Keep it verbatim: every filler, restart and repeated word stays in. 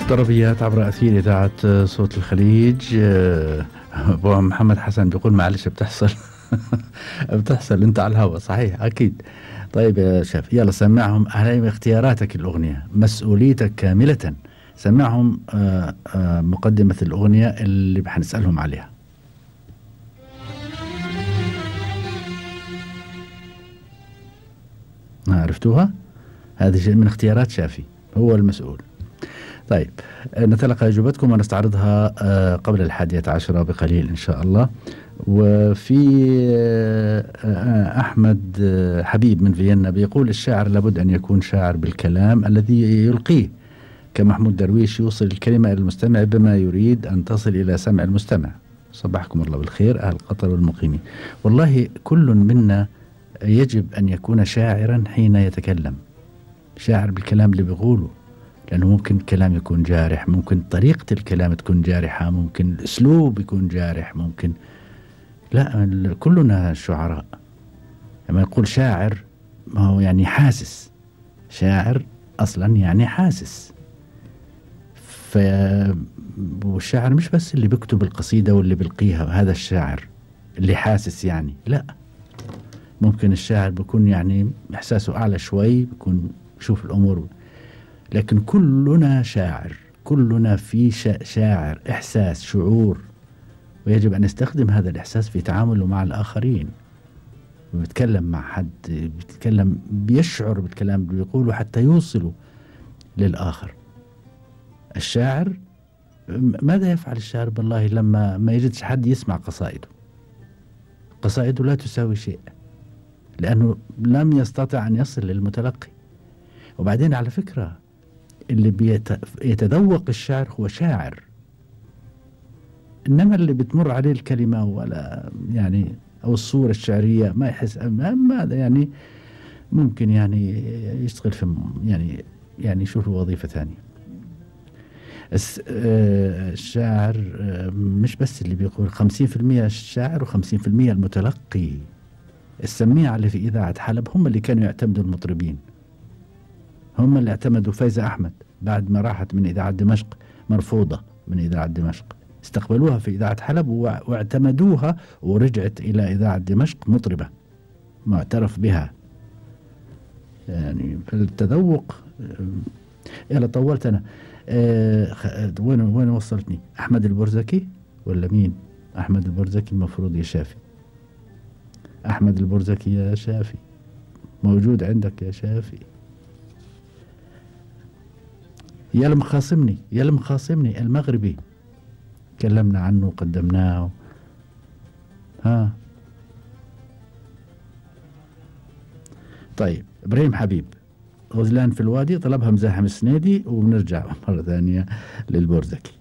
طربيات عبر أثير إذاعة صوت الخليج. أبو محمد حسن بيقول معلش بتحصل بتحصل أنت على الهواء، صحيح أكيد. طيب يا شاف، يلا سمعهم على اختياراتك الأغنية، مسؤوليتك كاملة. سمعهم آآ آآ مقدمة الأغنية اللي بحنسألهم عليها. عرفتوها؟ هذه شيء من اختيارات شافي، هو المسؤول. طيب نتلقى أجوبتكم ونستعرضها قبل الحادية عشرة بقليل إن شاء الله. وفي أحمد حبيب من فيينا بيقول الشاعر لابد أن يكون شاعر بالكلام الذي يلقيه، كمحمود درويش يوصل الكلمة إلى المستمع بما يريد أن تصل إلى سمع المستمع. صبحكم الله بالخير أهل قطر والمقيمين. والله كل منا يجب أن يكون شاعرا حين يتكلم، شاعر بالكلام اللي بيقوله، لأنه ممكن الكلام يكون جارح، ممكن طريقة الكلام تكون جارحة، ممكن الأسلوب يكون جارح، ممكن لا، كلنا شعراء. لما يقول شاعر ما هو يعني حاسس، شاعر أصلا يعني حاسس. ف والشاعر مش بس اللي بيكتب القصيدة واللي بيلقيها، هذا الشاعر اللي حاسس يعني لا، ممكن الشاعر بيكون يعني إحساسه أعلى شوي، بيكون يشوف الأمور. لكن كلنا شاعر، كلنا في شاعر، إحساس، شعور، ويجب أن نستخدم هذا الإحساس في تعامله مع الآخرين. بيتكلم مع حد، بيتكلم بيشعر بالكلام اللي بيقوله حتى يوصله للآخر. الشاعر ماذا يفعل الشاعر بالله لما ما يجدش حد يسمع قصائده؟ قصائده لا تساوي شيء، لأنه لم يستطع أن يصل للمتلقي. وبعدين على فكرة اللي بيتذوق الشعر هو شاعر، إنما اللي بتمر عليه الكلمة ولا يعني أو الصورة الشعرية ما يحس ماذا يعني، ممكن يعني يشتغل في يعني يعني يشوف وظيفة ثانية. الشاعر مش بس اللي بيقول، خمسين في المية الشاعر وخمسين في المية المتلقي. السميعة اللي في إذاعة حلب هم اللي كانوا يعتمدوا المطربين، هم اللي اعتمدوا فايزة أحمد بعد ما راحت من إذاعة دمشق، مرفوضة من إذاعة دمشق، استقبلوها في إذاعة حلب واعتمدوها، ورجعت إلى إذاعة دمشق مطربة معترف بها. يعني في التذوق. يلا طولت أنا. أه وين وين وصلتني؟ أحمد البرزكي ولا مين؟ أحمد البرزكي المفروض يا شافي. أحمد البرزكي يا شافي موجود عندك يا شافي. يا المخاصمني يا المخاصمني المغربي، تكلمنا عنه وقدمناه. ها طيب إبراهيم حبيب، غزلان في الوادي طلبها مزاحم السنيدي، وبنرجع مرة ثانية للبرزكي.